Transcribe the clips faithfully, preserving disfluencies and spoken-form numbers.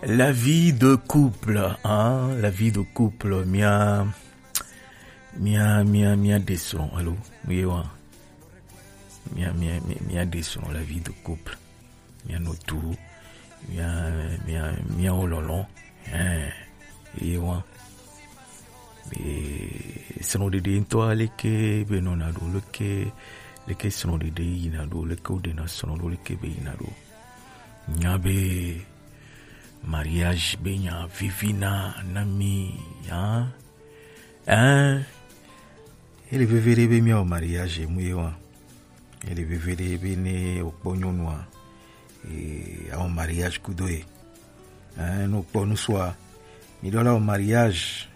La vie de couple, hein, la vie de couple, mia, mia, mia, mia descend, allô, oui, ouais. Mia, mia, mia, mia descend, la vie de couple. Mia notu, mia, mia, mia ololo, hein, oui, ouais. E, srɔ̃ɖeɖe ŋutɔ leke be nɔna ɖo, leke, leke srɔ̃ɖeɖe yina ɖo, leke wodena srɔ̃ ɖo, leke be yina ɖo. Nya be mariage be nya vivi na, na mi, hein? Hein? Ele veve ɖe be miawɔ mariage mu ye wa. Ele veve ɖe be ne wokpɔ nyɔnua, e, awɔ mariage kudo ye. Hein, ne wokpɔ nusua, mi ɖo la wɔ mariage.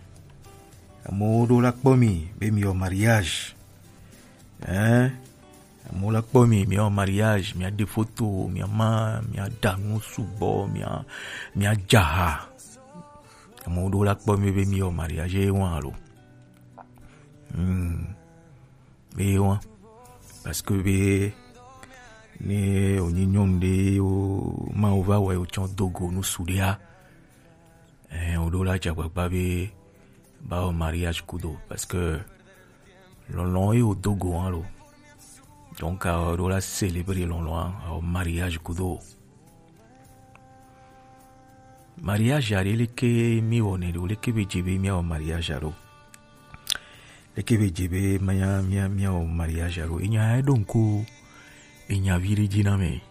Amewo ɖo la kpɔ mi be mi wɔ mariage. Hein? Amewo la kpɔ mi, mi wɔ mariage, mi aɖe foto, mi ama, mi aɖa nu sugbɔ, mi a, mi adza ha. Amewo ɖo la kpɔ mi be mi wɔ mariage ye wa lo. Hmm. Be wa. Parce que be ne wonyi nyɔnu ɖe wo ma wo va wɔ wo tsɔ dogo nu su ɖea. Eh, woɖo la dze agbagba be ba wɔ mariage kudo, parce que lɔlɔ̃ ye wodo go hã lo. Donc, a woɖo la célébrer lɔlɔ̃ hã, a wɔ mariage kudo. Mariage aɖe leke mi wɔnɛ ɖo, leke be dze be miawɔ mariage aɖo. Leke be dze be mia, mia, miawɔ mariage aɖo. Enya eɖo ŋku, enya vi ɖe dzi na me.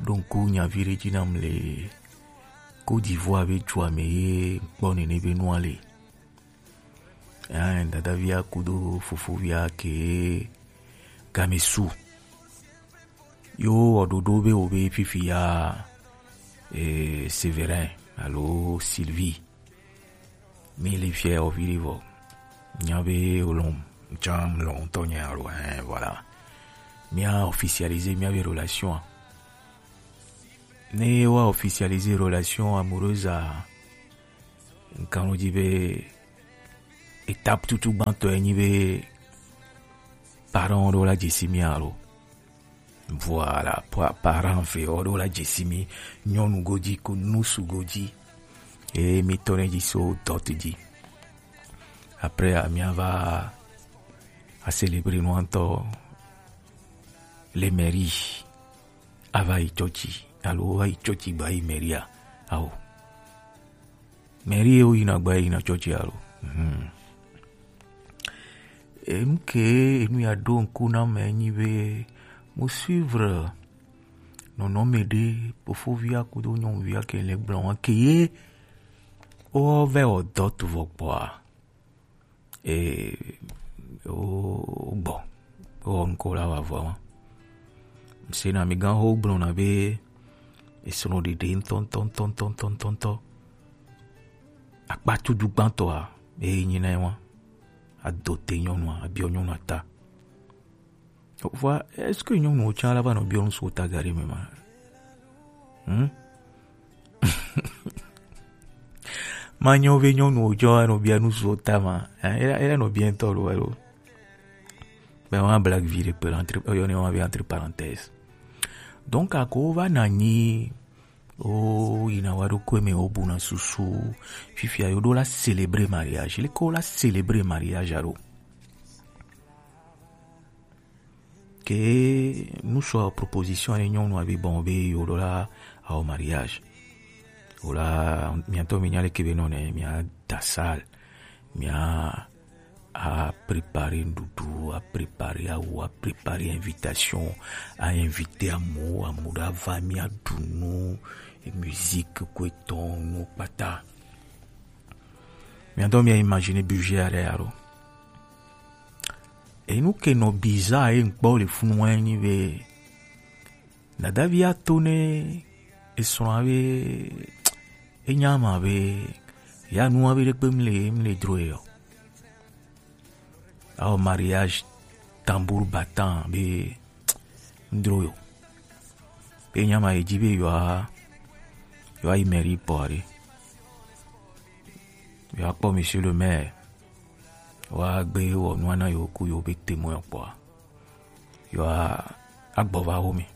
Ɖo ŋku nyavi ɖe dzi nam le Côte d'Ivoire be dua me ye ŋkpɔ nene be nua le. Hein, dadavia kudo fofovia ke game su. Yo wɔ ɖoɖo be wo be fifi ya, eh, Séverin alo Sylvie. Mi le fiɛ o vi ɖe vɔ. Nya be o lɔn, tsã lɔn tɔ nya lo, hein, voilà. Mi a officialiser mi a be relation. Ne wa officialiser relation amoureuse a, nkan lo di be étape tutu gbãtɔ ye nyi be parent ɖo la dze si mi alo. Voilà, pa-, parent ve ɔ ɖo la dze si mi nyɔnu go dzi ko nusu go dzi. Eye mi tɔ ne dzi so dot dzi. Après, a mi a va a célébrer nu ŋutɔ le mairie. A va yi tsɔtsi, alo va yi tsɔtsi gba yi mairie a? Ao. Mairie ye wo yina gba yina tsɔtsi alo. Mhm. Enu ke enu ya ɖo ŋku na me nyi be mo suivre nɔnɔme ɖe fofovia kudo nyɔnuvia ke le gblɔ wa ke ye wo vɛ wɔ dɔ tu vɔ kpɔa. E, wo, wo gbɔ. Wo wɔ ŋku la wa vɔ wa. Se na mi gan ho gblɔ na be esrɔ̃ɖeɖe ŋutɔ, ŋutɔ, ŋutɔ, ŋutɔ, ŋutɔ, ŋutɔ, ŋutɔ. Akpa tutu gbãtɔa, eye nyi na ye wa. Ado te nyɔnua, abiɔ nyɔnua ta. Vɔa, est-ce que nyɔnuwo tsã la va nɔ biɔ nu si wo ta ga ɖe me ma? Hmm? Ma nyɔ be nyɔnuwo tsã va nɔ bia nu si wo ta ma. Hein, ela, ela nɔ bia ŋutɔ lo, alo. Ben, on a blague vie de entre, on a entre parenthèses. Donc, ako va na nyi, o yina wa ɖo ko me o bu na susu. Fifia yo ɖo la célébrer mariage. Le ko la célébrer mariage alo. Ke nusua proposition ne nyɔnua be bon be yo ɖo la awɔ mariage. Wala miatɔ mi nya leke be nɔ ne mia da salle, mia a préparer nuɖuɖu, a préparer awu, a préparer invitation, a inviter amewo, amewo ɖo ava mia ɖu nu, musique ko etɔn nu kpata. Miatɔ mia imaginer budget aɖe alo. Enu ke nɔ bizarre ye ŋkpɔ le funu wa nyi be dadavi ato ne esrɔ̃a be enya ma be ya nua be ɖekpe mle mle dro ye o. Ao mariage tambour battant be ndro yo. Be nya ma ye dzi be yewoa, yewoa yi mairie kpɔ ɖe. Yewoa kpɔ monsieur le maire. Yewoa gbe wɔ nua na yewo ku yewo be témoin kpɔa. Yewoa agbɔ va wo me.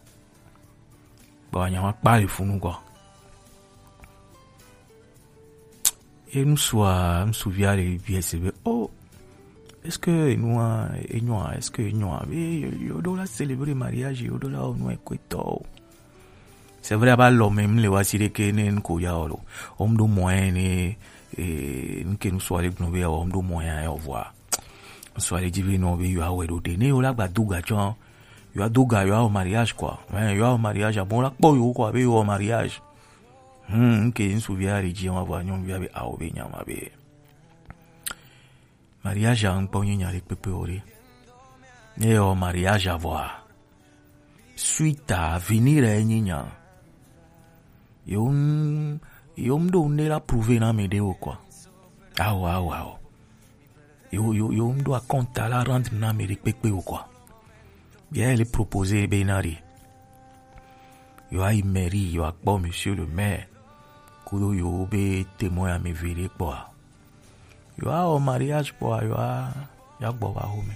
Kpɔ nya ma kpa le funu kɔ. Ye ŋutsua, ŋutsuvi aɖe bia se be, oh, est-ce que enua enyoa, est-ce que enyoa be yo, yo ɖo la célébrer mariage, yo ɖo la wɔ nu ekɔtɔ o. C'est vrai, aba lɔ me mle wa si ɖeke ne ŋko ya o lo. Om ɖo moyen ne, eh, ŋke ŋutsua ɖe gblɔ be o, om ɖo moyen ya o vɔa. Ŋutsua ɖe dzi be nɔ be yo awɛ ɖo ɖe. Ne yo la gba do ga tsɔ, yo ado ga, yo awɔ mariage quoi. Ouais, yo awɔ mariage, abo la kpɔ yo quoi, be yo wɔ mariage. Hmm, ŋke ŋutsuvi aɖe dzi wa vɔa, nyɔnuvia be awo be nya ma be. Mariage a ŋkpɔ nyi nya ɖe kpekpe o ɖe. Ne yɔ mariage a vɔa, suite a venir a nyi nya. Yo m-, yo m ɖo ne la prouver na me ɖe o quoi. Awo, awo, awo. Yo, yo, yo m ɖo a compte a la rendre na me ɖe kpekpe o quoi. Bia ele proposer be na ɖe. Yo ayi mairie, yo akpɔ monsieur le maire. Kudo yo be témoin ame eve ɖe kpɔa. Yo awɔ mariage kpɔa, yo a, yo agbɔ va home.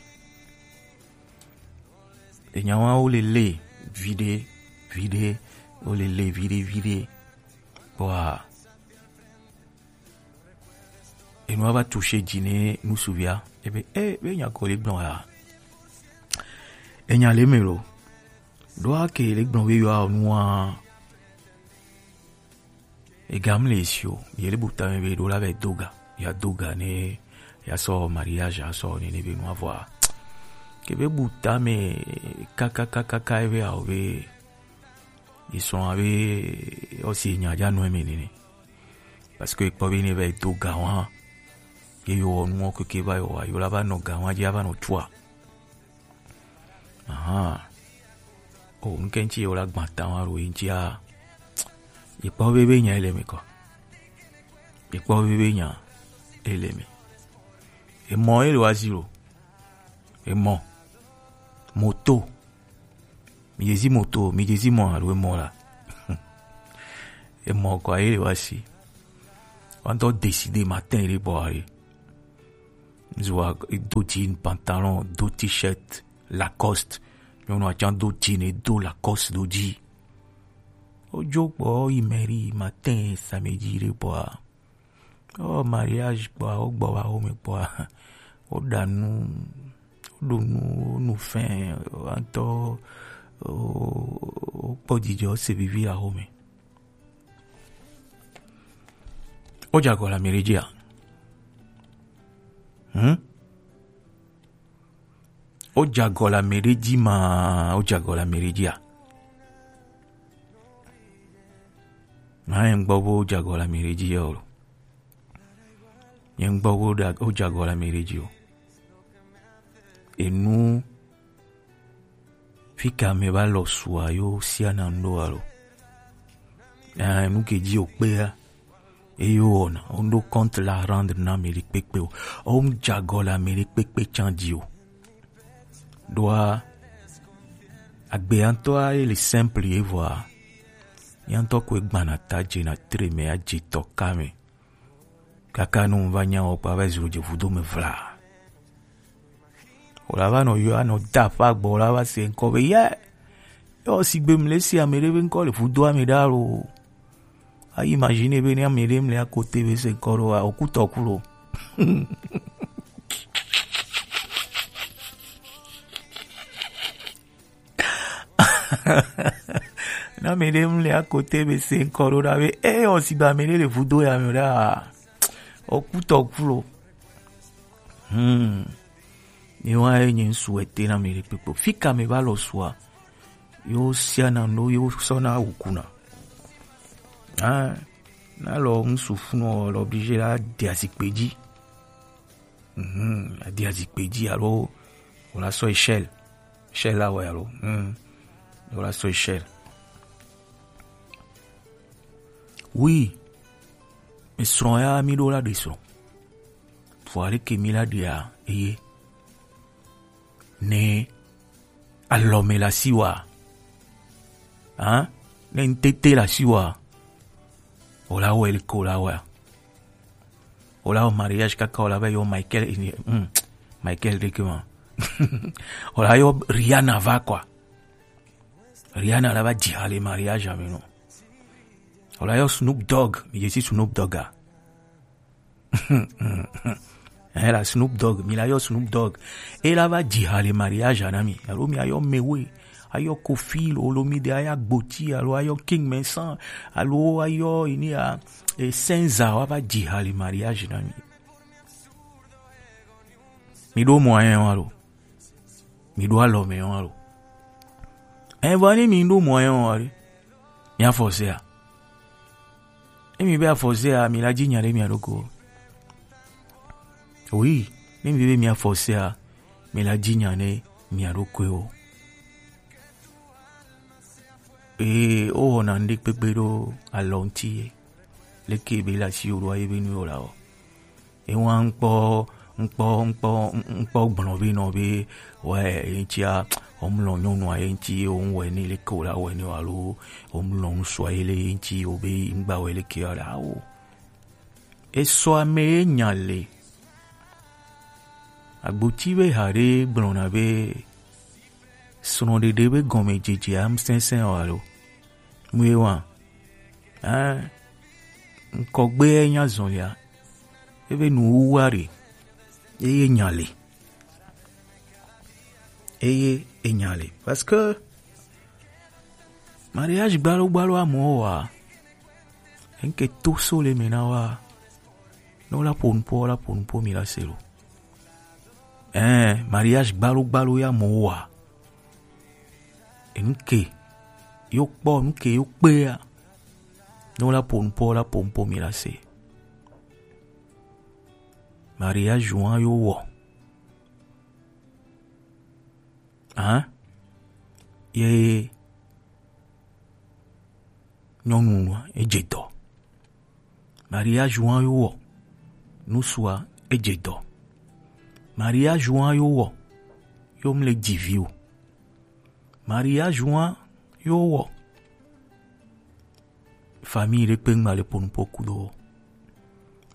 Enya wa wo le le viɖe, viɖe, wo le le viɖe, viɖe. Kpɔa, enua va toucher dzi ne ŋutsuvia. Ebe, eh, be nya ko le gblɔ ya. Enya le me lo. Ɖo ake le gblɔ be yo awɔ nua. Ega mle esi o, ye le bu tame be ɖo la va do ga, ya do ga ne ya sɔ mariage a sɔ ne ne be nua vɔa. Ke be bu tame kakakakaka ebe awo be ye srɔ̃ abe ɔsi nya dza nɔ eme nene. Parce que ekpɔ be ne va do ga wa, ye yo wɔ nuwo keke va yo wa, yo la va nɔ ga wa dzi ava nɔ tua. Ahan. O, ŋke ŋtsi ye wo la gbã ta wa ɖo ye ŋtsi a. Ye kpɔ be be nya ele me kɔ. Ye kpɔ be be nya ele me. Emɔ ye le wa zi lo. Emɔ. Moto. Mi dze zi moto, mi dze zi mɔ alo emɔ la. Emɔ kɔ ye le wa si. Wa ŋtɔ décider matin ye le bɔ ayi. Zua do jean pantalon, do t-shirt Lacoste. Nyɔnu atsan do jean, do Lacoste do dzi. Wodzo kpɔ yi mairie matin samedi ɖe kpɔa. Oh, mariage kpɔa, wogbɔ va home kpɔa. Woɖa nu, woɖu nu, nu fɛn, antɔ, wokpɔ dzidzɔ, se vivi la home. Wodze agɔ le ame ɖe dzia? Hm? Wodze agɔ le ame ɖe dzi ma, wodze agɔ le ame ɖe dzia? Na ye ŋgbɔ be wodze agɔ le ame ɖe dzi ya o. Ye ŋgbɔ be woɖe ag-, wodze agɔ le ame ɖe dzi o. Enu Fika me va lɔ sua yo sia na ŋɖo alo? Eh, nu ke dzi o kpea, eyo wɔna, o ŋɖo compte la rendre na ame ɖe kpekpe o. O ŋdze agɔ le ame ɖe kpekpe tsan dzi o. Ɖoa, agbea ŋtɔa ye le simple ye vɔa, ya ŋtɔ ko egbana ta dze na tre me adze tɔ ka me. Kaka nu va nya wɔ kpa va zro dze vudo me vla. Wòla va nɔ yɔ anɔ da aƒe agbɔ, wòla va se ŋkɔ be, yɛ. Yɔ sigbe mle si ame ɖe be ŋkɔ le vudoa me ɖa lo. A imagine be ne ame ɖe mle akote be se ŋkɔ ɖo, a, oku tɔ ku lo. Na ame ɖe mle akote be se ŋkɔ ɖo ɖa be, e, o sigbe ame ɖe le vudo ya me ɖa. Oku tɔ ku lo. Hmm. Mi wa ye nye ŋsu ete na mi ɖe kpekpe. Fika me va lɔ sua. Yo sia na no, yo sɔ na wukuna. Ah, na lɔ ŋsu funɔ lɔ obligé la de azikpe dzi. Mhm, a de azikpe dzi alo wòla sɔ échelle. Échelle la wɛ alo. Hmm. Wòla sɔ échelle. Oui. Mi srɔ̃ ya mi ɖo la ɖe srɔ̃. Vɔ ale ke mi la ɖea eye. Ne alɔme la si wa. Hein? Ne ŋtete la si wa. Wòla wɛ le ko la wɛ. Wòla wɔ mariage kaka wòla va yɔ Michael, hmm, Michael ɖe ke ma. Wòla yɔ Rihanna va quoi. Rihanna la va dzi ha le mariage me nɔ. Wòla yɔ Snoop Dogg, mi dze si Snoop Dogg a. Eh, la Snoop Dogg, mi la yɔ Snoop Dogg. E la va dzi ha le mariage na mi. Alo mi ayɔ Mewe, ayɔ Kofi, lo, lo mi de ayɔ Agboti, alo ayɔ King Vincent, alo ayɔ ini a, e Senza, wa va dzi ha le mariage na mi. Mi ɖo moyen wa lo. Mi ɖo alɔ mɛ wa lo. Evɔ ni mi ɖo moyen wa ɖe. Mi a forcer a. E mi be a forcer a, mi la dzi nya ɖe mia ɖo ko. Oui, ne mi be mi a forcer a, mi la dzi nya ne mia ɖo ko. Ee, o wɔna ŋɖe kpekpe ɖo alɔ ŋti ye. Leke be la si o ɖo aye be nu o la o. Ewa ŋkpɔ, ŋkpɔ, ŋkpɔ, ŋkpɔ gblɔ be nɔ be, wɛ, eŋtia, omlɔ nyɔnua ye ŋti, o ŋwɛ ne leke o la wɛ ne o alo, omlɔ ŋsua ye le ye ŋti, o be ŋgba wɛ leke o la o. Esɔ ame ye nya le. Agboti be ha ɖe gblɔna be, srɔ̃ɖeɖe be gɔmedzedze am sɛnsɛn o alo. Mu ye wa. Hein? Ŋkɔgbe ye nya zɔlia. Ebe nu wuwa ɖe. Eye nya le. Eye enya le. Parce que mariage gbalo gbalo amewo wa. Enke to so le me na wa. Ne wola ƒo nuƒo, wola ƒo nuƒo mi la se lo. Ɛɛ, mariage gbalo gbalo ya amewo wa. Enuke yo kpɔ, nuke yo kpea. Ne wola ƒo nuƒo, wola ƒo nuƒo mi la se. Mariage wa yo wɔ. Hein? Ye nyɔnu nua edze dɔ. Mariage wa yo wɔ. Nusua edze dɔ. Mariage wa yo wɔ. Yo mle dzi vi o. Mariage wa yo wɔ. Famille ɖe kpe ŋgba le ƒo nuƒo kudo.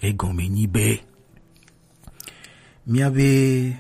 Egɔme nyi be, mía be